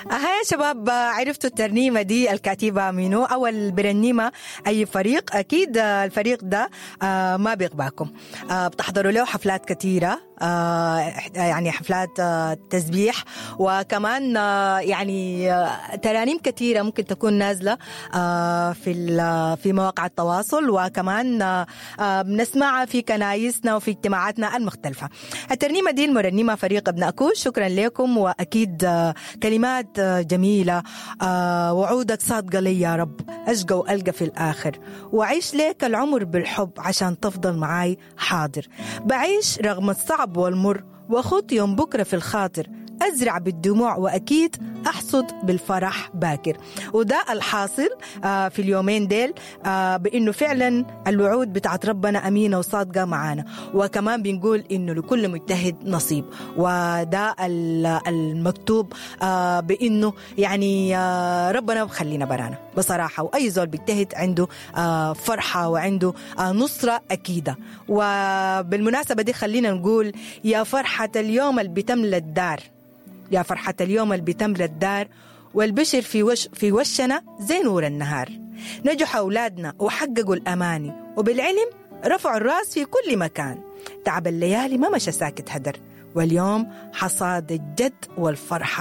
أها يا شباب، عرفتوا الترنيمة دي الكاتبة منو أو البرنيمة أي فريق؟ أكيد الفريق ده ما بيغباكم، بتحضروا له حفلات كثيرة، يعني حفلات تسبيح، وكمان يعني ترانيم كثيرة ممكن تكون نازلة في مواقع التواصل، وكمان بنسمعها في كنايسنا وفي اجتماعاتنا المختلفة. الترنيمة دي المرنمة فريق ابناء كوش، شكرا لكم. وأكيد كلمات جميلة، وعودك صادقة لي يا رب، أشقى وألقى في الآخر، وعيش ليك العمر بالحب عشان تفضل معاي حاضر، بعيش رغم الصعب والمر، وأخوض يوم بكرة في الخاطر، أزرع بالدموع وأكيد أحصد بالفرح باكر. وده الحاصل في اليومين ديل، بأنه فعلا الوعود بتاعت ربنا أمينة وصادقة معانا، وكمان بنقول إنه لكل مجتهد نصيب، وده المكتوب بأنه يعني ربنا بخلينا برانا بصراحة، وأي زول بيجتهد عنده فرحة وعنده نصرة أكيدة. وبالمناسبة دي خلينا نقول يا فرحة اليوم اللي بتملى الدار، يا فرحة اليوم اللي بتملى الدار، والبشر في وشنا زي نور النهار، نجحوا أولادنا وحققوا الأماني، وبالعلم رفعوا الراس في كل مكان، تعب الليالي ما مشى ساكت هدر، واليوم حصاد الجد والفرحة.